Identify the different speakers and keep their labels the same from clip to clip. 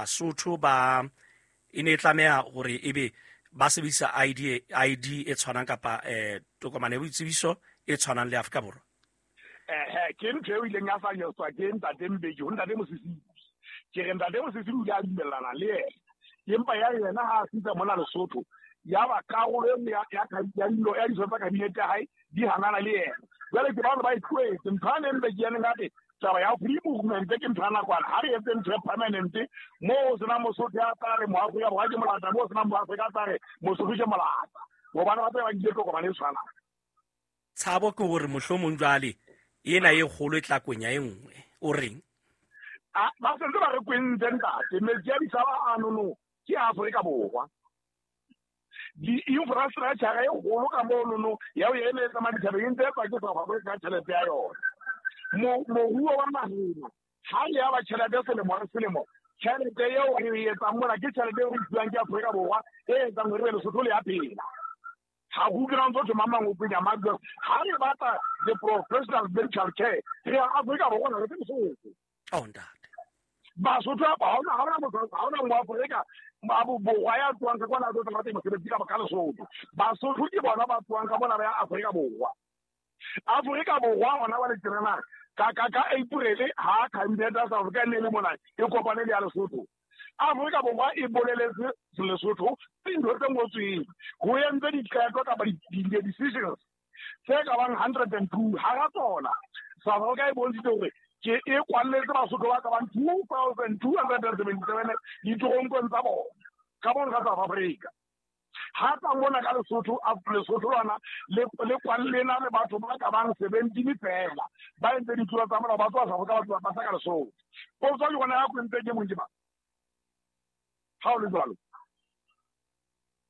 Speaker 1: Basotho ba e ne e tlameha hore ebe ba sebedisa ID e tshwanang kapa tokomane ya boitsebiso e tshwanang le Afrika Borwa?
Speaker 2: Ke ntho eo ileng ya fanyetswa ke ntate Mbeki ho ntate Mosisili. Ke re ntate Mosisili o ile a dumellana le yena, empa ya yena ha a fihla mona Lesotho, ya ba karolo e nngwe ya ditho tsa kabinete ya hae di hanana le yena. Jwale ke bano ba e tlohetse ntho ya neng Mbeki ya neng a re taba ya free movement ke ntho ya nakwana, ha re etse ntho ya permanent moo ho senang Mosotho ya tla re Moafrika Borwa ke molata, moo ho senang Moafrika tla re Mosotho ke molata, hobane ba tse ba nkile tokomane e tshwanang.
Speaker 1: Tshabo ke hore mohlomong jwale ena e kgolo e tla kwenya e nngwe, o reng?
Speaker 2: Ba sentse ba re kwentse ntate, metsi a disaba a nono ke Afrika Borwa. Di-infrastructure e kgolo ka monono ya ho eme tsamaya dithabeng e ntse e tswa ke South Africa ka tjhelete ya yona. Moruo wa naheng ha re ya ba tjhelete selemo le selemo, tjhelete eo re e etsang mona ke tjhelete eo re e fuwang ke Afrika Borwa e etsang hore Lesotho le ya phela. Ha go utlwe ntse thoma mang o penya mang, ha re batla the professional medical care re ya Afrika Borwa re tse Lesotho.
Speaker 1: Oh ntate.
Speaker 2: Basotho ba ha ona motho, ha ona Moafrika ba Borwa ya tswang ka kwana a tlo tla batla mosebetsi ka Lesotho. Basotho ke bona ba tswang ka mona ba ya Afrika Borwa. Afrika Borwa hona ba le tjena ka April ha cabinet ya South Africa ne le mona e kopane le ya Lesotho. Afrika Borwa e boleletse Lesotho dintho tse ngotsweng ho entse diqeto kapa di-decisions tse ka bang 102. Hara tsona South Africa e bontshitse hore ke e kwalletse Basotho ba ka bang 2277 ditoronkong tsa bona ka bona ka South Africa. Ha tla mona ka Lesotho, Lesotho lona le kwallena le batho ba ka bang 17 fela ba entse ditlolo tsa molao, ba tswa South Africa, ba tswa ba tla ka Lesotho. Potso ke yona ya kwentse ke mong ke ba ha o le jwalo.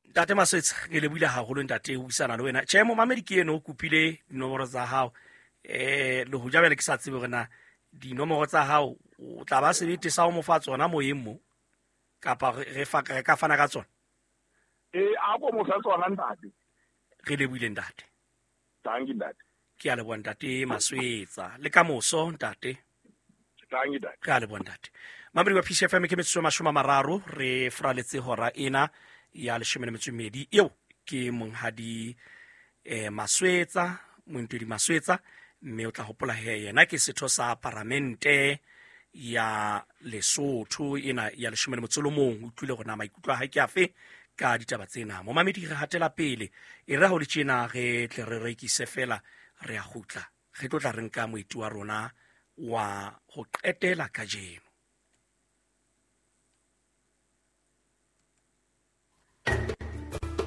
Speaker 1: Ntate Maswetsa, ke lebohile haholo ntate ho buisana le wena. Tjhe, momamedi ke eno o kopile dinomoro tsa hao. Le hoja jwale ke sa tsebe hore na dinomoro tsa hao o tla ba sebete sa ho mo fa tsona moyeng mo, kapa re ka fana ka tsona?
Speaker 2: A ko mo fa tsona ntate.
Speaker 1: Re lebohile ntate.
Speaker 2: Thank you ntate.
Speaker 1: Ke a leboha ntate Maswetsa. Le ka moso ntate.
Speaker 2: Thank you ntate.
Speaker 1: Re a leboha ntate. Mamedi wa PCFM ke metsotso e 30 re fraletse hora ena ya 12 eo ke monghadi Maswetsa, Montwedi Maswetsa, mme o tla hopola he yena ke setho sa paramente ya Lesotho ena ya 11. Utlwile hore na maikutlo a hae ke afe ka ditaba tsena. Momamedi re hatela pele, e re ha ho le tjena re tle re rekise fela, re a kgutla, re tlo tla re nka moeti wa rona wa ho qetela kajeno.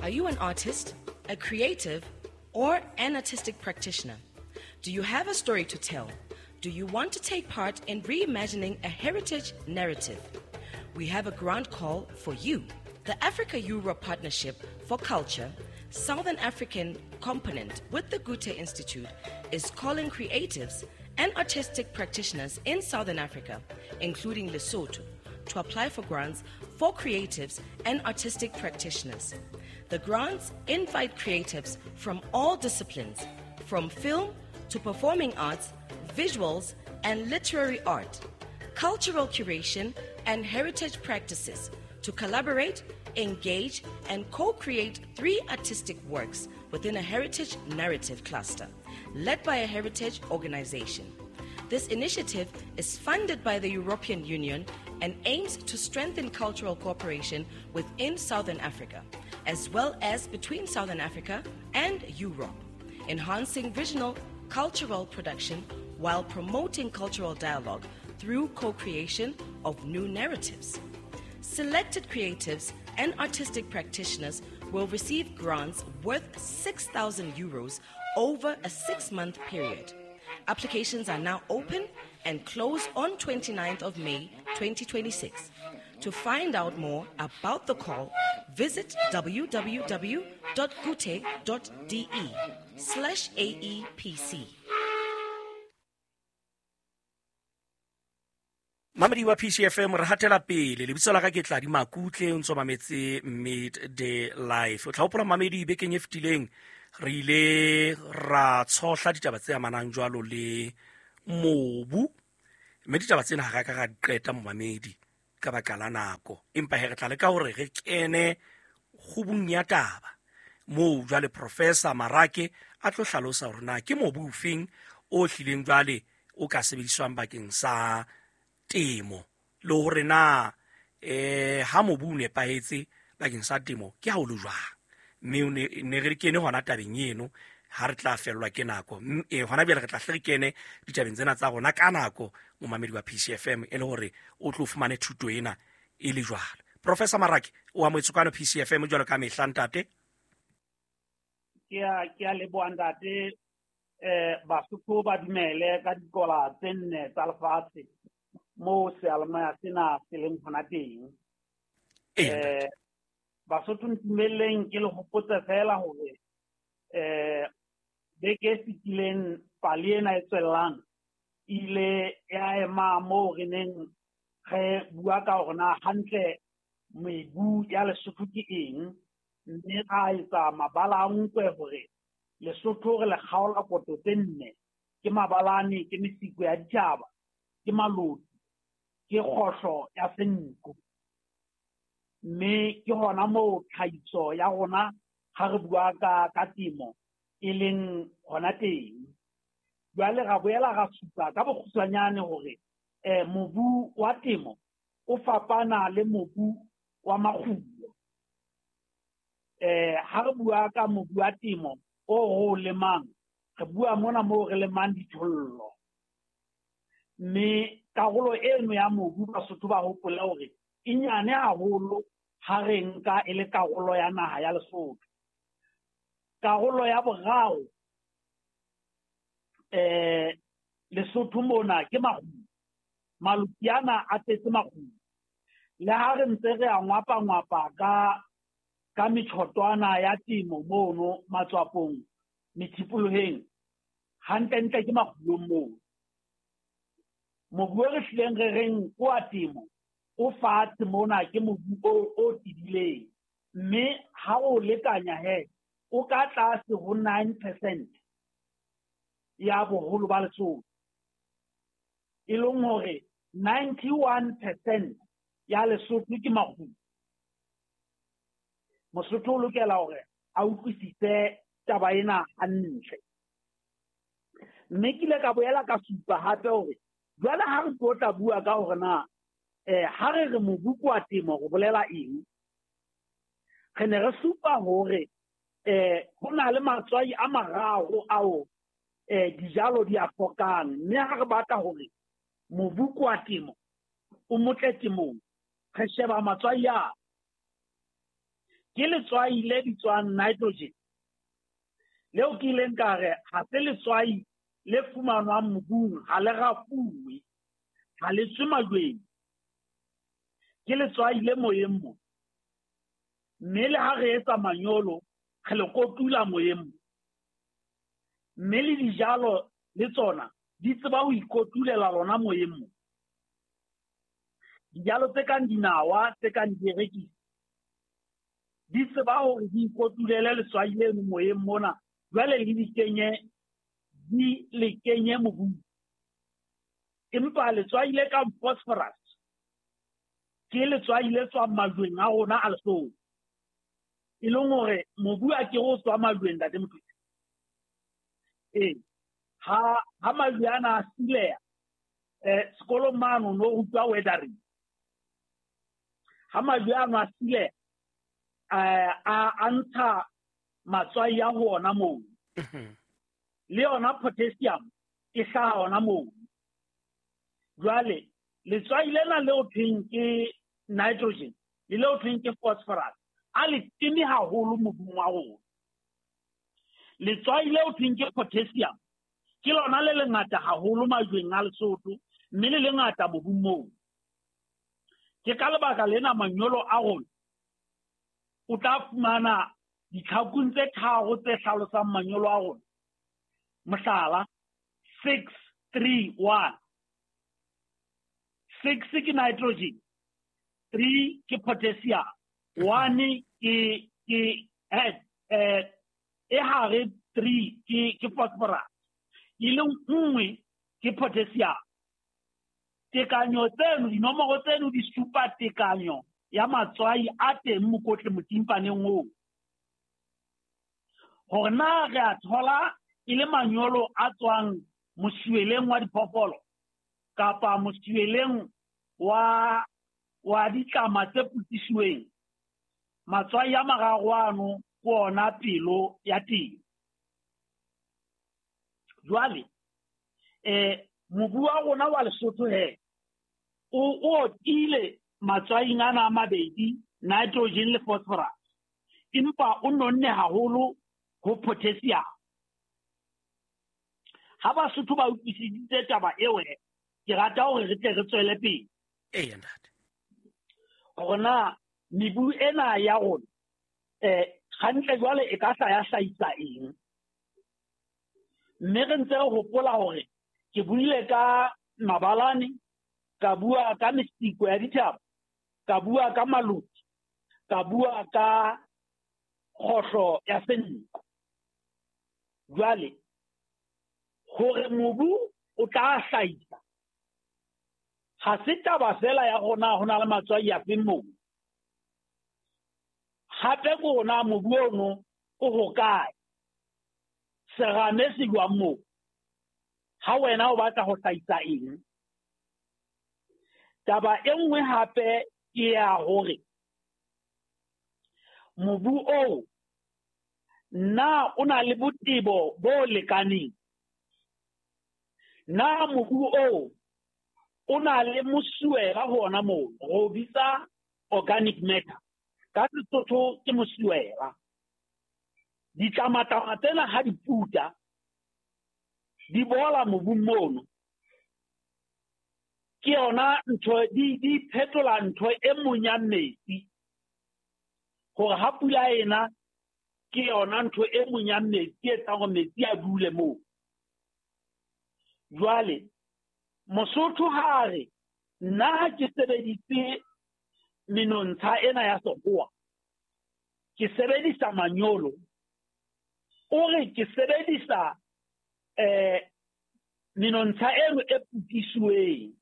Speaker 3: Are you an artist, a creative, or an artistic practitioner? Do you have a story to tell? Do you want to take part in reimagining a heritage narrative? We have a grant call for you. The Africa-Europe Partnership for Culture, Southern African component with the Goethe Institute, is calling creatives and artistic practitioners in Southern Africa, including Lesotho, to apply for grants for creatives and artistic practitioners. The grants invite creatives from all disciplines, from film to performing arts, visuals and literary art, cultural curation and heritage practices, to collaborate, engage and co-create 3 artistic works within a heritage narrative cluster, led by a heritage organization. This initiative is funded by the European Union and aims to strengthen cultural cooperation within Southern Africa, as well as between Southern Africa and Europe, enhancing regional cultural production while promoting cultural dialogue through co-creation of new narratives. Selected creatives and artistic practitioners will receive grants worth 6,000 euros over a 6-month period. Applications are now open and close on 29th of May 2026. To find out more about the call, visit www.goethe.de/aepc.
Speaker 1: Mamedi wa PCFM re hatela pele. Lebitso la ka ke Tladi Makutle, o ntso mametse Midday Life. O tla hopola mamedi bekeng e fetileng re ile ra tshohla ditaba tse amanang jwalo le mobu, mme ditaba tsena ha ra ka ra di qeta momamedi. Ka baka la nako, empa he re tla leka hore re kene kgubung ya taba moo jwale Professor Marake a tlo hlalosa hore na ke mobu ofeng o hlileng jwale o ka sebediswang bakeng sa temo, le hore na ha mobu o nepahetse bakeng sa temo ke ha o le jwang. Mme o ne re kene hona tabeng eno ha re tla fellwa ke nako. Hona bjale re tla hle re kene ditabeng tsena tsa rona ka nako, momamedi wa PCFM, e le hore o tlo fumane thuto ena e le jwalo. Professor Marake, o amohetswe kwano PCFM jwalo ka mehla, ntate.
Speaker 4: Ke a leboha, ntate. Basotho ba dumele ka dikola tse nne tsa lefatshe moo seyalemoya sena se leng hona teng.
Speaker 1: Ee.
Speaker 4: Basotho, ntumelleng ke le hopotse fela hore beke e fetileng pale ena e tswellang ile ya ema moo re neng re bua ka hore na hantle mebu ya Lesotho ke eng, mme ra etsa mabala a nkwe hore Lesotho re le kgaola koto tse nne: ke mabalane, ke mesiko ya ditjhaba, ke maloti, ke kgohlo ya senku. Mme ke hona moo tlhahiso ya rona ha re bua ka temo e leng hona teng. Jwale ra boela ra supa ka bokgutshwanyane hore mobu wa temo o fapana le mobu wa makgulo. Ha re bua ka mobu wa temo o re o lemang, re bua mona moo re lemang dithollo. Mme karolo eno ya mobu, Basotho ba hopole hore e nyane haholo ha re nka e le karolo ya naha ya Lesotho. Karolo ya boraro Lesotho mona ke makgulo. Maloti ana a tletse makgulo. Le ha re ntse re a ngwapa-ngwapa ka metjhotwana ya temo mono matswapong, methipoloheng, hantlentle ke makgulong moo. Mobu o re hlileng re reng ke wa temo o fatshe mona ke mobu o tebileng, mme ha o lekanya he o ka tlase ho 9% ya boholo ba Lesotho, e leng hore 91% ya Lesotho ke makgulo. Mosotho o lokela hore a utlwisise taba ena hantle. Mme ke ile ka boela ka supa hape hore jwale ha re tlo tla bua ka hore na ha re re mobu ke wa temo re bolela eng, re ne re supa hore ho na le matswai a mararo ao dijalo di a hlokang, mme ha re batla hore mobu ke wa temo o motle temong, re sheba matswai a ke letswai le bitswang nitrogen, leo ke ileng ka re ha se letswai le fumanwang mobung, ha le rafuwe, ha le tswe majweng, ke letswai le moyeng mo, mme le ha re etsa manyolo re le kotula moyeng mo, mme le dijalo le tsona di tseba ho ikotulela lona moyeng mo. Dijalo tse kang dinawa, tse kang dierekisi, di tseba hore di ikotulele letswai leno moyeng mona, jwale le di kenye, di le kenye mobung. Empa letswai le kang phosphorus ke letswai le tswang majweng a rona a Lesotho, e leng hore mobu a ke o tswa majweng, ntate Mothusi. Ee, ha majwe ana a sileha, sekolong mano no rutwa weathering. Ha majwe ano a sileha, a ntsha matswai a ho ona moo. Le yona potassium e hlaha hona moo. Jwale letswai lena leo thweng ke nitrogen le leo thweng ke phosphorus a le teme haholo mobung wa rona. Letswai leo thweng ke potassium ke lona le lengata haholo majweng a Lesotho, mme le lengata mobung moo. Ke ka lebaka lena manyolo a rona o tla fumana ditlhakung tse tharo tse hlalosang manyolo a rona. Mohlala, 6 3 1. 6 ke nitrogen, 3 ke potassium, 1 ke e hare 3 ke phosphorus, e leng nngwe ke potassium. Tekanyo tseno, dinomoro tseno di supa tekanyo ya matswai a teng mokotle motimpaneng oo. Hore na re a thola e le manyolo a tswang mosuweleng wa diphoofolo kapa mosuweleng wa ditlama tse putisiweng, matswai a mararo ano ke ona pelo ya teng. Jwale mobu wa rona wa Lesotho he o otile matswaing ana a mabedi, nitrogen le phosphorus, empa o nonne haholo ho potassium. Ha Basotho ba utlwisisitse taba eo, ke rata hore re tle re tswele pele.
Speaker 1: Eya ntate.
Speaker 4: Hore na mebu ena ya rona hantle jwale e ka hla ya hlahisa eng. Mme re ntse re hopola hore ke buile ka mabalane, ka bua ka mesiko ya dithaba, ka bua ka maluti, ka bua ka kgohlo ya senko. Jwale hore mobu o tla hlahisa ha se taba fela ya rona ho na le matswai a feng moo. Hape ke rona mobu ono o hokae, serame se jwang moo, ha wena o batla ho hlahisa eng. Taba e nngwe hape ke ya hore mobu oo na o na le botebo bo lekaneng, na mobu oo o na le mosuwela hona moo, re o bitsa organic matter, ka Sesotho ke mosuwela. Ditlamatlama tsena ha di puta di bola mobung mono, ke yona ntho di phetola ntho e monyang metsi, hore ha pula ena ke yona ntho e monyang metsi e etsang hore metsi a dule moo. Jwale Mosotho ha re nna ha ke sebedise menontsha ena ya sekgowa, ke sebedisa manyolo, o re ke sebedisa menontsha eno e putisuweng,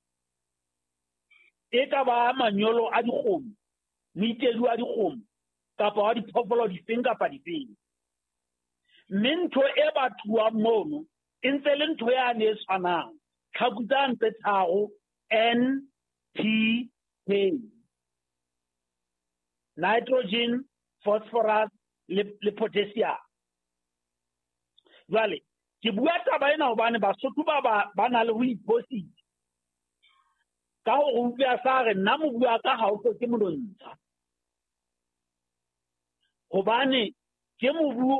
Speaker 4: e ka ba manyolo a dikgomo, moitedi wa dikgomo kapa wa diphoofolo difeng kapa difeng. Mme ntho e batluwang mono e ntse le ntho yane e tshwanang, tlhaku tsane tse tharo N P K, nitrogen, phosphorus le potassium. Jwale ke bua taba ena hobane Basotho ba na le ho iphosisa ka hore utlwa sa re nna mobu wa ka ha o hloke monontsha, hobane ke mobu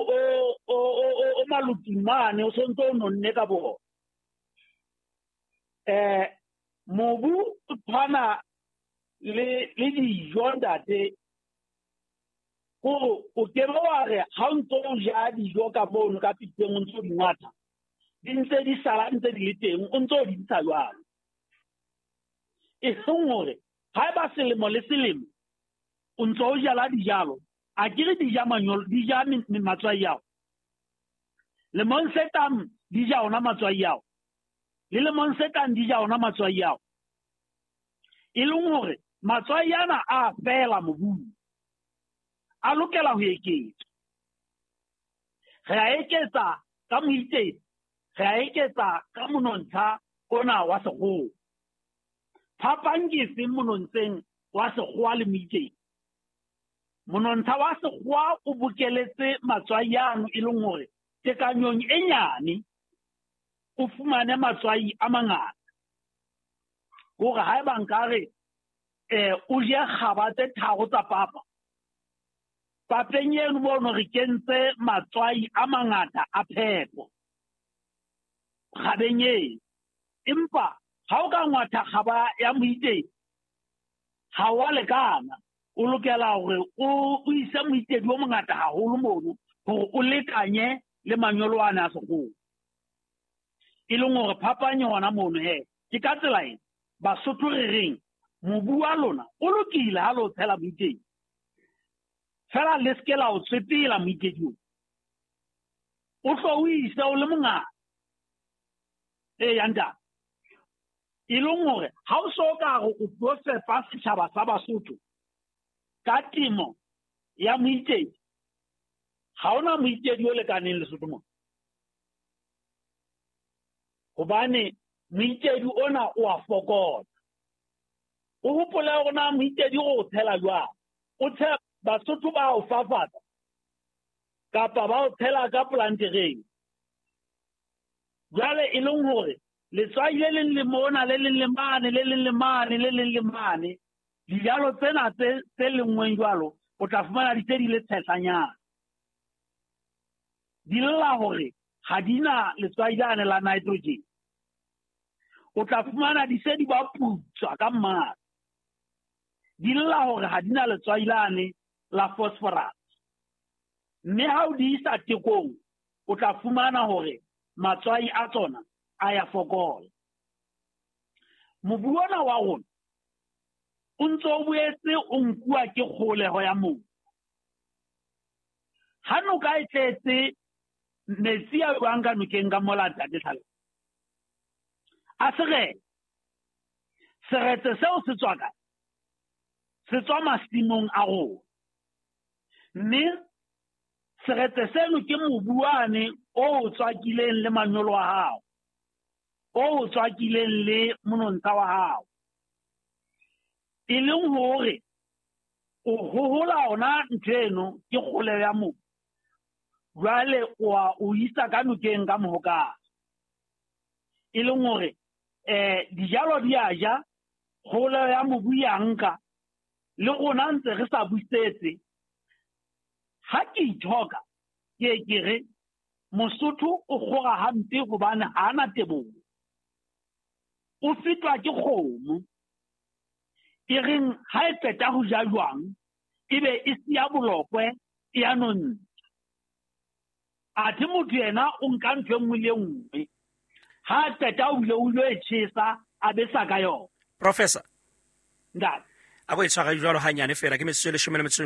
Speaker 4: o maluting mane o sontso o nonne ka bona. Mobu o tshwana le dijo ntate, hore o ke be wa re ha o ntso o ja dijo ka mono ka pitseng o ntso di ngwatha, di ntse di sala ntse di le teng, o ntso di ntsha jwalo. E seng hore haeba selemo le selemo o ntso o jala dijalo, a ke re di ja manyolo, di ja matswai ao. Lemong se tlang di ja ona matswai ao, le lemong se tlang di ja ona matswai ao. E leng hore matswai ana a fela mobung, a lokela ho eketswa. Re a eketsa ka moitedi, re a eketsa ka monontsha ona wa sekgowa. Phapang ke efeng monontsheng wa sekgowa le moitedi? Monontsha wa sekgowa o bokeletse matswai ano e leng hore tekanyong e nyane o fumane matswai a mangata. Hore haeba nkare o je kgaba tse tharo tsa papa, papeng eno mono re kentse matswai a mangata a phepo kgabeng eno. Empa ha o ka ngwatha kgaba ya moitedi ha wa lekana, o lokela hore o ise moitedi o mongata haholo mono hore o lekanye le manyolo ana a sekgowa. E leng hore phapang hona mono he ke ka tsela ena Basotho re reng mobu wa lona o lokile ha le o tshela moitedi, fela le se ke la o tswepela moitedi oo, o hlo o ise o le mongata. Eya ntate. E leng hore ha o so ka re o tlo fepa setjhaba sa Basotho ka temo ya moitedi, ha hona moitedi o lekaneng Lesotho mona. Hobane moitedi ona o a fokola. O hopole hore na moitedi o tshela jwang. O tshela Basotho ba o fafatsa kapa ba o tshela ka plantereng. Jwale e leng hore letswai le leng le mona, le leng le mane, le leng le mane, le leng le mane. Dijalo tsena tse lengweng jwalo, o tla fumana di se di le tshehlanyana. Di lla hore ha di na letswai lane la nitrogen. O tla fumana di se di ba putswa ka mmala. Di lla hore ha di na letswai lane la phosphorus. Mme ha o di isa tekong, o tla fumana hore matswai a tsona a ya fokola. Mobu ona wa rona o ntso o boetse o nkuwa ke kgoleho ya mobu. Ha noka e tletse metsi a jwang ka nokeng ka mola ntate Tlhalo, a seretse. Seretse seo se tswa kae? Se tswa masimong a rona. Mme seretse seno ke mobu wane o tswakileng le manyolo a hao, o tswakileng le monontsha wa hao. E leng hore o hohola ona ntho eno ke kgoleho ya mobu. Jwale o isa ka nokeng ka mohokare. E leng hore dijalo di a ja, kgoleho ya mobu ya nka, le rona ntse re sa busetse. Ha ke ithoka, ke ke re Mosotho o kgora hampe hobane ha ana teboho. O fetwa ke kgomo. E reng ha e qeta ho ja jwang, ebe e siya bolokwe e ya nontsha. Athe motho yena o nka ntho e nngwe le nngwe. Ha qeta o ile o ilo e tjhesa, a besa ka yona.
Speaker 1: Professor.
Speaker 4: Ntate.
Speaker 1: A go e tshwara jwalo hanyane fela ke metsotso e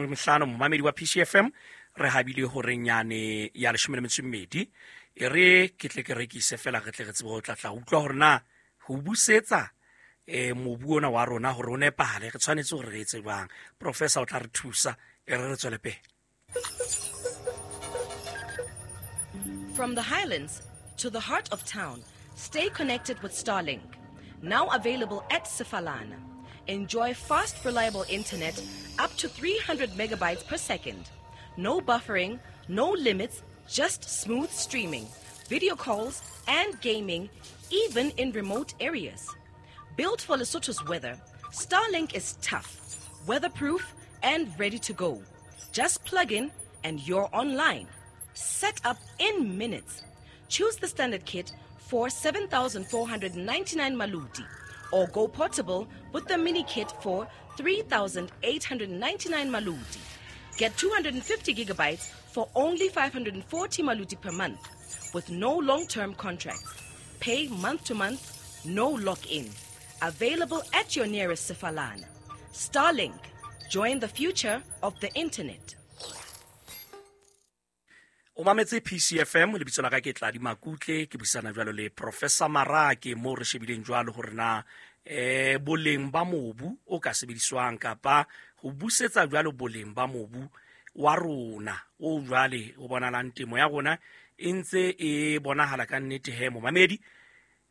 Speaker 1: 15 momamedi wa PCFM re habile horeng yane ya 12. E re ke tle ke rekise fela re tle re tsebe ho tla utlwa hore na ho busetsa mobu ona wa rona hore o nepahale re tshwanetse hore re etse jwang. Professor o tla re thusa e re re tswele pele.
Speaker 3: From the highlands to the heart of town, stay connected with Starlink, now available at Sefalana. Enjoy fast, reliable internet up to 300 megabytes per second. No buffering, no limits, just smooth streaming, video calls, and gaming, even in remote areas. Built for Lesotho's weather, Starlink is tough, weatherproof, and ready to go. Just plug in and you're online. Set up in minutes. Choose the standard kit for 7,499 maluti, or go portable with the mini kit for 3,899 maluti. Get 250 gigabytes for only 540 maluti per month, with no long-term contracts. Pay month to month, no lock-in. Available at your nearest Sefalana. Starlink, join the future of the internet.
Speaker 1: O mametse PCFM, lebitso la ka ke Tladi Makutle, ke buisana jwalo le Professor Marake mo re shebileng jwalo hore na boleng ba mobu o ka sebediswang kapa ho busetsa jwalo boleng ba mobu wa rona o jwale o bonalang temo ya rona e ntse e bonahala ka nnete he momamedi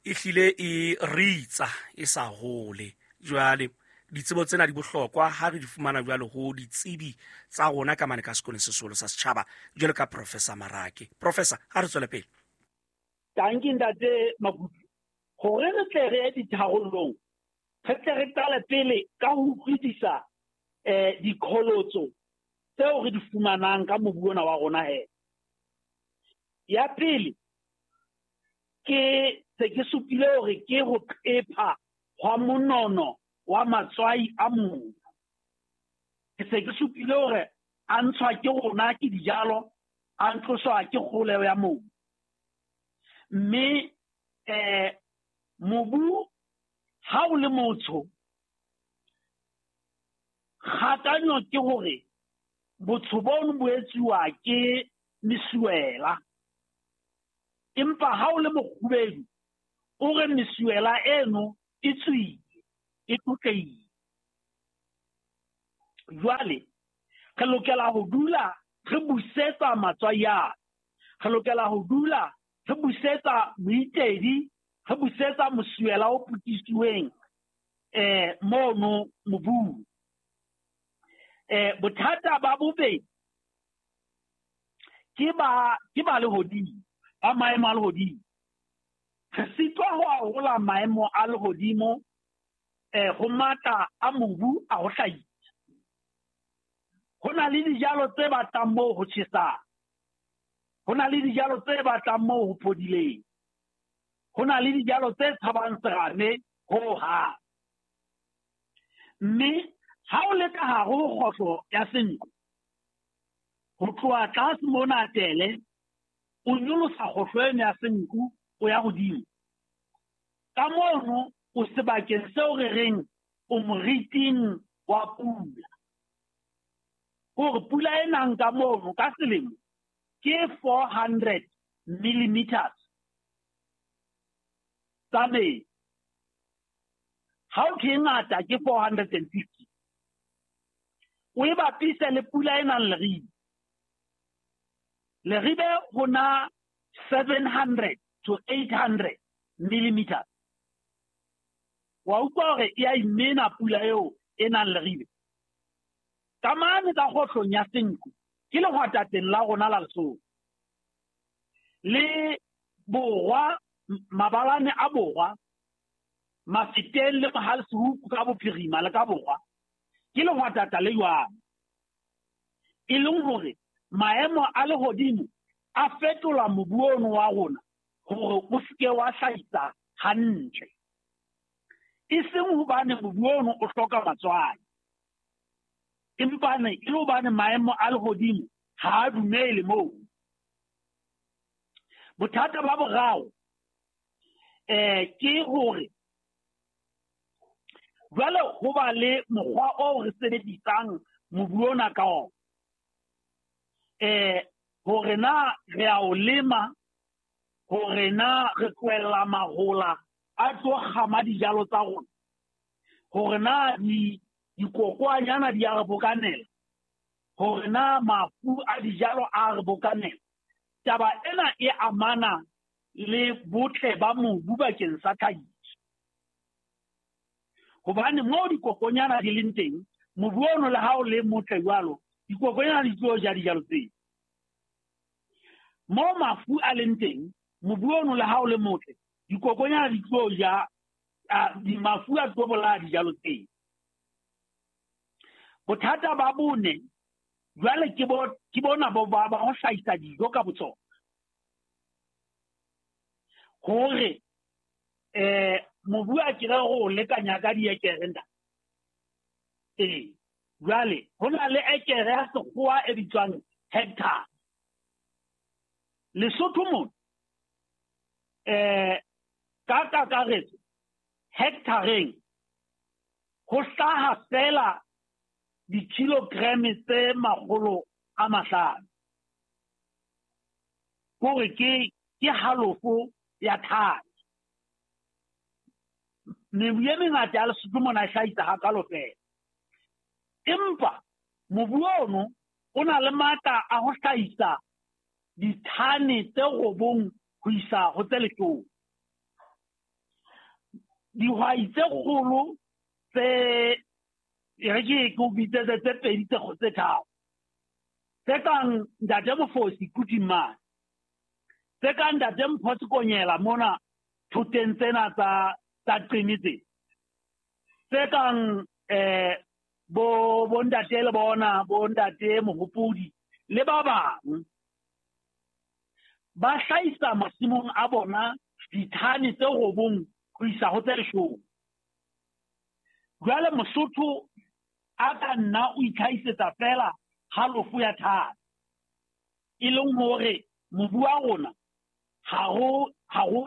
Speaker 1: e hlile e ritsa e sa hole. Jwale ditsebo tsena di bohlokwa ha re di fumana jwalo ho ditsebi tsa rona ka mane ka sekolong se seholo sa setjhaba jwalo ka Professor Marake. Professor, ha re tswele pele.
Speaker 4: Tanki ntate Makutle, hore re tle re ye ditharollong, re tle re qale pele ka ho utlwisisa diqholotso tseo re di fumanang ka mobu ona wa rona he. Ya pele ke se ke supile hore ke ho qepha hwa monono wa matswai a mobu. Ke se ke supile hore a ntshwa ke rona ke dijalo, a ntloswa ke kgoleho ya mobu. Mme mobu ha o le motsho, kgakanyo ke hore botsho bono bo etsuwa ke mesuwela. Empa ha o le mokgubedu, o re mesuwela eno e tswile, e tlotlehile. Jwale re lokela ho dula re busetsa matswai ana, re lokela ho dula re busetsa moitedi, re busetsa mosuwela o potisiweng mono mobung. Bothata ba bobedi ke ba lehodimo, ba maemo a lehodimo. Re sitwa ho arola maemo a lehodimo ho matla a mobu a ho hlahisa. Ho na le dijalo tse batlang moo ho tjhesang, ho na le dijalo tse batlang moo ho phodileng, ho na le dijalo tse tshabang serame ho hang. Mme ha o le ka hare ho kgohlo ya Senqu, ho tloha tlase mona Tele, o nyolosa kgohlo eno ya Senqu o ya hodimo. Ka mono o sebakeng seo re reng o moriting wa pula. Hore pula e nang ka mono ka selemo ke 400 millimeters tsa metsi. Ha o thwe e ngata ke 450. O e bapise le pula e nang Leribe. Leribe ho na 700 to 800 millimeters. Wa utlwa hore e a imena pula eo e nang Leribe. Ka mane ka kgohlong ya Senqu ke lehwatateng la rona la Lesotho. Le borwa, mabalane a borwa, Mafeteng le Mohaleshoek ka bophirima le ka borwa, ke lehwatata le jwang. E leng hore maemo a lehodimo a fetola mobu ono wa rona hore o seke wa hlahisa hantle. E seng hobane mobu ono o hloka matswai, empa e le hobane maemo a lehodimo ha a dumele moo. Bothata ba boraro ke hore jwale ho ba le mokgwa oo re sebedisang mobu ona ka ona. Hore na re a o lema, hore na re tlohella mahola a tlo kgama dijalo tsa rona, hore na dikokwanyana di a re bokanela, hore na mafu a dijalo a re bokanela. Taba ena e amana le botle ba mobu bakeng sa tlhahiso. Hobane moo dikokonyana di leng teng, mobu ono le ha o le motle jwalo, dikokonyana di tlo ja dijalo tseo. Moo mafu a leng teng, mobu ono le ha o le motle, dikokonyana di tlo ja, mafu a tlo bolaya dijalo tseo. Bothata ba bone jwale ke bona bo ba ho hlahisa dijo ka botsona. Hore mobu a kere go lekanya ka diekere nda. Jwale ho na le ekere ya sekgowa e bitswang hectare. Lesotho mona ka kakaretso hectareng ho hlaha fela di-kilogram tse 500. Hore ke halofo ya thane. Mebu e mengata ya Lesotho mona e hlahisa hakalo fela. Empa mobu ono o na le matla a ho hlahisa dithane tse 9 ho isa ho tse 10. Dihwai tse kgolo tse e re ke o bitsetse tse pedi tse tharo, tse kang Ntate Mofosi Kutimane, tse kang Ntate Mpho Sekonyela mona thoteng tsena tsa Qini tse, tse kang bo ntate le bona bo ntate Mohopodi le ba bang, ba hlahisa masimong a bona dithane tse 9 ho isa ho tse 10. Jwale Mosotho a ka nna o itlhahisetsa fela halofo ya thane, e leng hore mobu wa rona ha ho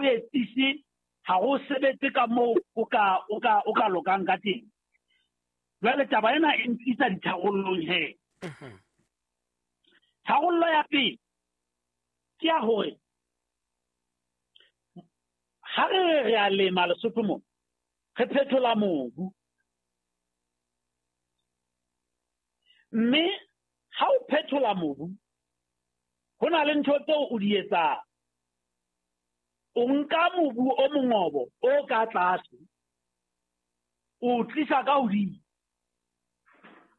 Speaker 4: etsise, ha ho sebetse ka moo o ka lokang ka teng. Jwale taba ena e ntlisa ditharollong he. Tharollo ya pele ke ya hore ha re a lema Lesotho mona, Re phethola mobu. Mme ha o phethola mobu, ho na le ntho tseo o di etsang. O nka mobu o mongobo o ka tlase, o tlisa ka hodimo.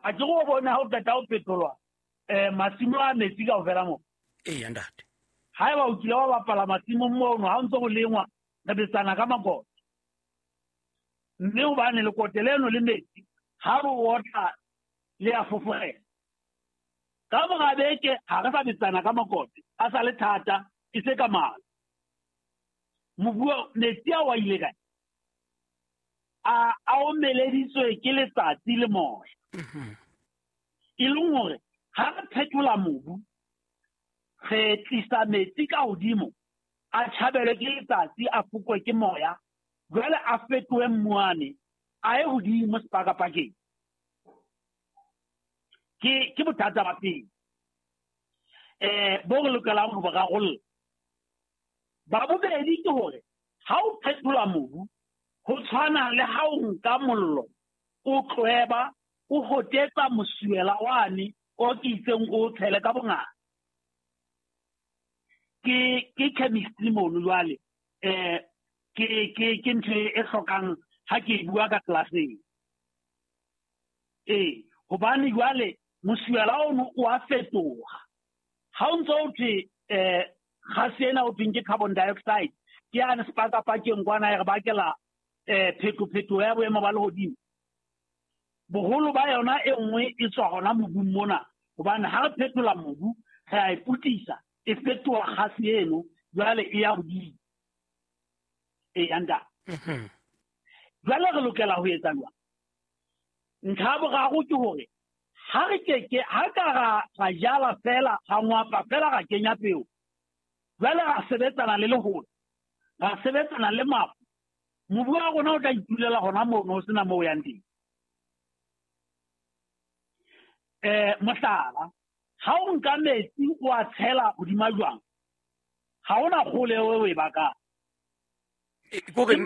Speaker 4: A ke go bone ha o qeta ho phetholwa masimo a metsi kaofela moo.
Speaker 1: Eya ntate.
Speaker 4: Haeba o kile wa bapala masimong mono, ha o ntse go lengwa, re betsana ka makote. Mme hobane lekote leno le metsi, ha re otla le a fofogela. Ka mora beke ha re sa betsana ka makote, a sa le thata, e se ka mala. Mobu metsi a wa ile kae? A omeleditswe ke letsatsi le moya. E leng hore ha re phethola mobu, re tlisa metsi ka hodimo, a tjhabelwe ke letsatsi, a fokwe ke moya, jwale a fetohe mmuane, a ye hodimo sepakapakeng. Ke bothata ba pele bo re lokelang ho bo rarolla. Ba bobedi ke hore ha o phethola mobu, ho tshwana le ha o nka mollo, o tlweba, o hotetsa mosuela wane o ke itseng o tshele ka bongata. Ke chemistry mono jwale, ke ntho e hlokang ha ke bua ka classeng. Hobane jwale mosuela ono o a fetoha. Ha o ntso o thwe gase ena o thweng ke carbon dioxide, ke yane sepakapakeng kwana e re bakela phetophetoho ya boemo ba lehodimo. Boholo ba yona e nngwe e tswa hona mobung mona, hobane ha re phethola mobu re a e putisa, e fetoha gase eno jwale e ya hodimo. Eya ntate. Jwale re lokela ho etsa jwang? Ntlha ya boraro ke hore ha re keke ha ka ra jala fela, ra ngwapa fela, ra kenya peo, jwale ra sebetsana le lehola, ra sebetsana le mafu, mobu wa rona o tla itulela hona mono, ho sena moo o yang teng. Mohlala, ha o nka metsi o a tshela hodima jwang, ha hona kgole eo o e bakang.
Speaker 1: Kore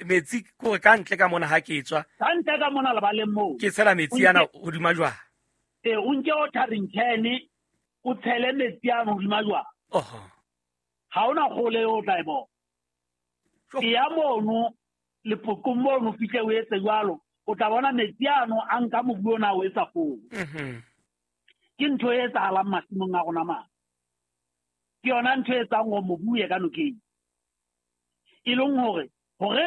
Speaker 1: metsi kore ka ntle ka mona ha ke tswa.
Speaker 4: Ka ntle ka mona lebaleng moo.
Speaker 1: Ke tshela metsi ana hodima jwang.
Speaker 4: O nke watering can, o tshele metsi ano hodima jwang. Ha hona kgole eo o tla e bona. E ya mono lepokong mono fihle o etse jwalo, o tla bona metsi ano a nka mobu ona o etsa foo. Ke ntho e etsahalang masimong a rona mane. Ke yona ntho e etsang hore mobu o ye ka nokeng. E leng hore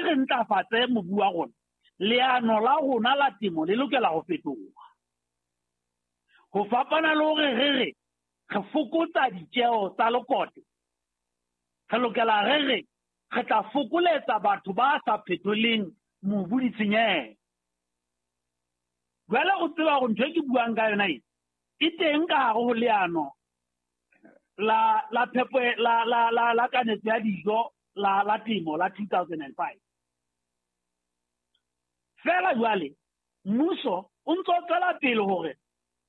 Speaker 4: re ntlafatse mobu wa rona, leano la rona la temo le lokela ho fetoha. Ho fapana le hore re re re fokotsa ditjeo tsa lekote, re lokela re re re tla fokoletsa batho ba sa phetholeng mobu ditshenyehelo. Jwale go tseba hore ntho e ke buang ka yona e e teng ka hare ho leano la la phepo la la la la kanetso ya dijo la la temo la 2005. Fela jwale mmuso o ntso tswela pele hore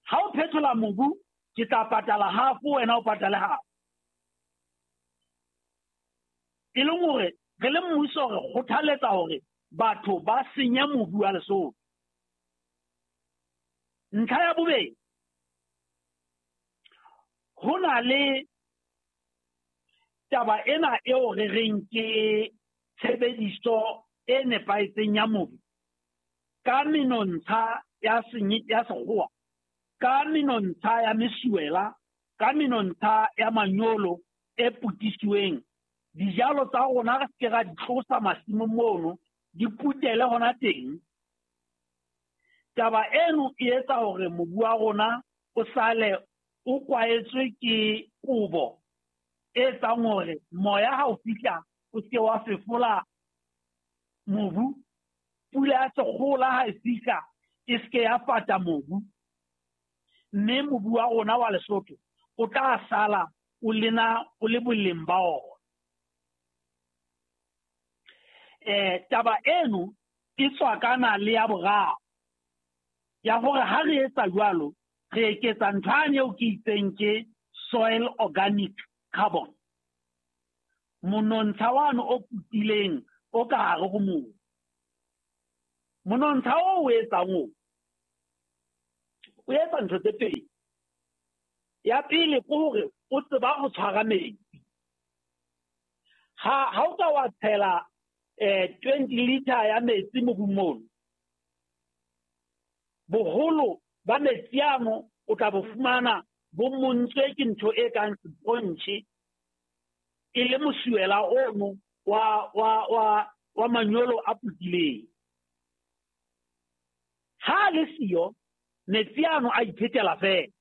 Speaker 4: ha o phethola mobu ke tla patala half, wena o patale half. E leng hore re le mmuso re kgothaletsa hore batho ba senye mobu wa Lesotho. Ntlha ya bobedi, ho na le taba ena eo re reng ke tshebediso e nepahetseng ya mobu ka menontsha ya sekgowa, ka menontsha ya mesuela, ka menontsha ya manyolo e putisiweng. Dijalo tsa rona re se ke ra di tlosa masimong mono, di putele hona teng. Taba eno e etsa hore mobu wa rona o sale o kwaetswe ke kobo e etsang hore moya ha o fihla o se ke wa fefola mobu, pula ya sekgola ha e fihla e se ke ya fata mobu, mme mobu wa rona wa Lesotho o tla sala o lena o le boleng ba ona. Taba eno e tswakana le ya boraro ya hore ha re etsa jwalo re eketsa ntho ane eo ke itseng ke soil organic carbon, monontsha wane o putileng o ka hare ho mobu. Monontsha o o etsang o o etsa ntho tse pedi. Ya pele ke hore o tseba ho tshwara metsi. Ha o ka wa tshela 20 liter ya metsi mobung mono, boholo ba metsi ano o tla bo fumana bo montswe ke ntho e kang sponge, e le mosuwela ono wa manyolo a putileng. Ha le siyo, metsi ano a iphetela fela.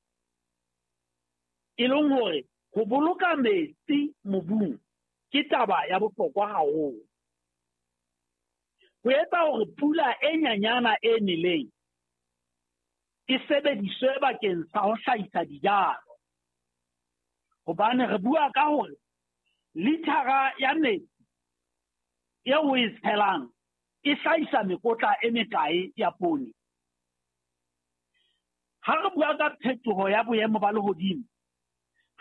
Speaker 4: E leng hore ho boloka metsi mobung ke taba ya bohlokwa haholo. Ho etsa hore pula e nyanyana e neleng e sebediswe bakeng sa ho hlahisa dijalo. Hobane re bua ka hore lithara ya metsi eo o e tshelang e hlahisa mekotla e mekae ya poone. Ha re bua ka phetoho ya boemo ba lehodimo,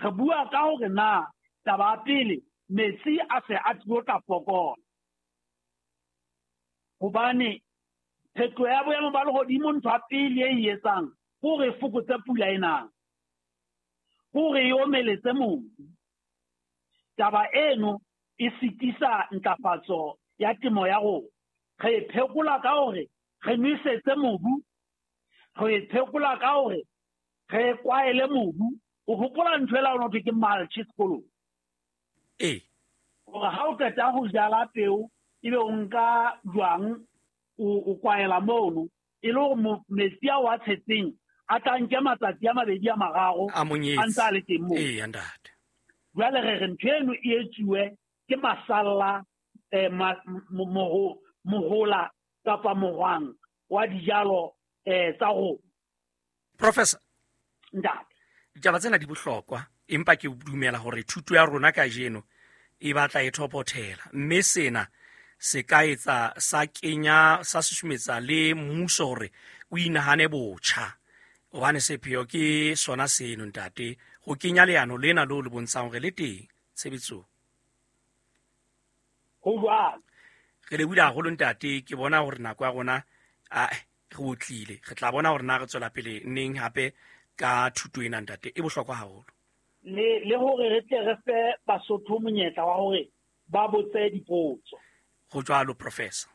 Speaker 4: re bua ka hore na taba ya pele metsi a se a tlilo tla fokola. Hobane phetoho ya boemo ba lehodimo ntho ya pele e etsang ke hore e fokotse pula e nang, ke hore e omeletse mobu. Taba eno e sitisa ntlafatso ya temo ya rona. Re e phekola ka hore re nwesetse mobu, re e phekola ka hore re kwaele mobu. O hopola ntho ela o thwe ke mulch sekolong?
Speaker 1: Ee.
Speaker 4: Hore ha o qeta ho jala peo, ebe o nka jwang o kwaela mono, e le hore metsi ao a tshetseng a tla nke matsatsi a mabedi a mararo
Speaker 1: a
Speaker 4: ntse a le teng moo.
Speaker 1: Ee, ntate.
Speaker 4: Jwale re re ntho eno e etsuwe ke masalla mohola kapa mohwang wa dijalo tsa rona.
Speaker 1: Professor,
Speaker 4: ntate,
Speaker 1: ditaba tsena di bohlokwa, empa ke dumela hore thuto ya rona kajeno e batla e thopothela, mme sena se ka etsa sa kenya sa susumetsa le mmuso hore o inahane botjha. Hobane sepheo ke sona seno ntate, ho kenya leano lena leo le bontshang hore le teng tshebetsong.
Speaker 4: Ho jwalo.
Speaker 1: Re lebohile haholo ntate, ke bona hore nako ya rona a re otlile. Re tla bona hore na re tswela pele neng hape ka thuto ena ntate, e bohlokwa haholo.
Speaker 4: Le hore re tle re fe Basotho monyetla wa hore ba botse dipotso.
Speaker 1: Ho jwalo, Professor.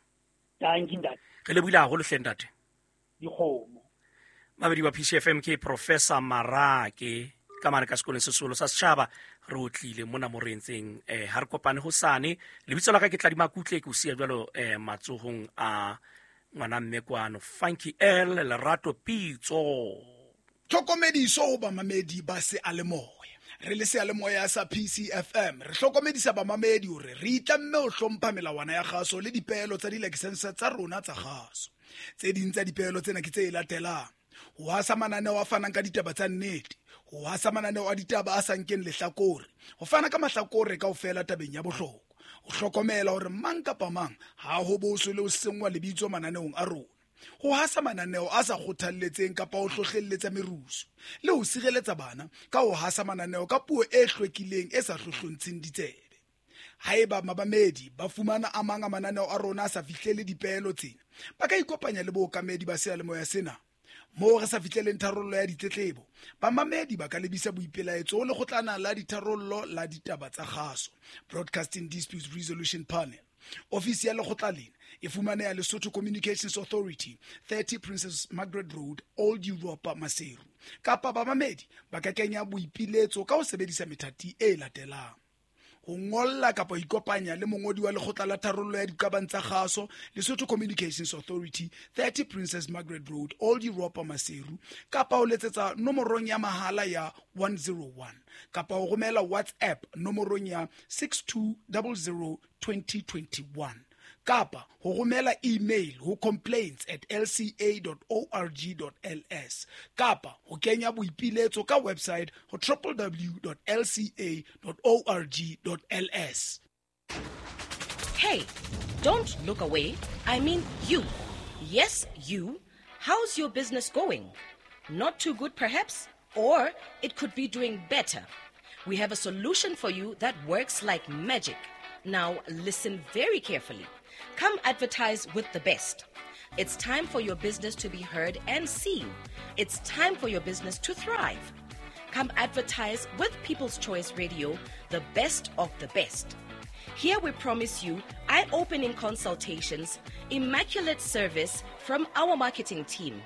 Speaker 4: Thank you, ntate.
Speaker 1: Re lebohile haholo hle ntate.
Speaker 4: Dikgomo.
Speaker 1: Mabedi wa PCFM ke Professor Marake ka mane ka sekolong se seholo sa setjhaba. Re otlile mona mo re entseng ha re kopane hosane. Lebitso la ka ke Tladi Makutle, ke o siya jwalo matsohong a ngwana mme kwano Funky L Lerato Pitso.
Speaker 5: Tlhokomediso ho bamamedi ba seyalemoya. Re le seyalemoya sa PCFM re hlokomedisa bamamedi hore re itlamme ho hlompha melawana ya kgaso le dipeelo tsa dilakesense tsa rona tsa kgaso. Tse ding tsa dipeelo tsena ke tse latelang: ho hasa mananeo a fanang ka ditaba tsa nnete, ho hasa mananeo a ditaba a sa nkeng lehlakore, ho fana ka mahlakore kaofela tabeng ya bohlokwa, ho hlokomela hore mang kapa mang ha ho boswe le ho senngwa lebitso mananeong a rona, ho hasa mananeo a sa kgothalletseng kapa ho hlohlelletsa merusu, le ho sireletsa bana ka ho hasa mananeo ka puo e hlwekileng e sa hlohlontsheng ditsebe. Haeba mabamedi ba fumana a mang a mananeo a rona a sa fihlele dipeelo tsena, ba ka ikopanya le bookamedi ba seyalemoya sena. Moo re sa fihleleng tharollo ya ditletlebo, bamamedi ba ka lebisa boipelaetso ho lekgotlana la ditharollo la ditaba tsa kgaso, Broadcasting Disputes Resolution Panel. Ofisi ya lekgotla lena e fumaneha Lesotho Communications Authority, 30 Princess Margaret Road, Old Europa, Maseru. Kapa bamamedi ba ka kenya boipiletso ka ho sebedisa methati e latelang: ho ngolla kapa ho ikopanya le mongodi wa lekgotla la tharollo ya diqabang tsa kgaso, Lesotho Communications Authority, 30 Princess Margaret Road, Old Europa, Maseru, kapa ho letsetsa nomorong ya mahala ya 101, kapa ho romela WhatsApp nomorong ya 6200 2021, kapa ho romela email ho complaints@lca.org.ls, kapa ho kenya boipiletso ka website ho www.lca.org.ls.
Speaker 3: Hey, don't look away. I mean you. Yes, you. How's your business going? Not too good, perhaps? Or it could be doing better. We have a solution for you that works like magic. Now, listen very carefully. Come advertise with the best. It's time for your business to be heard and seen. It's time for your business to thrive. Come advertise with People's Choice Radio, the best of the best. Here we promise you eye opening consultations, immaculate service from our marketing team.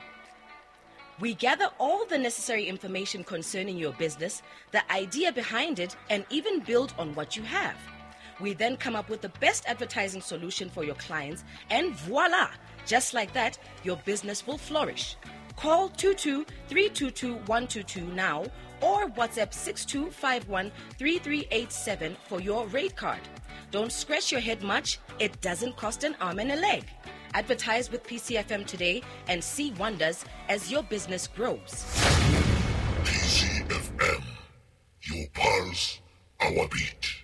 Speaker 3: We gather all the necessary information concerning your business, the idea behind it, and even build on what you have. We then come up with the best advertising solution for your clients, and voila! Just like that, your business will flourish. Call 22 322 122 now or WhatsApp 6251 3387 for your rate card. Don't scratch your head much, it doesn't cost an arm and a leg. Advertise with PCFM today and see wonders as your business grows.
Speaker 6: PCFM, your pulse, our beat.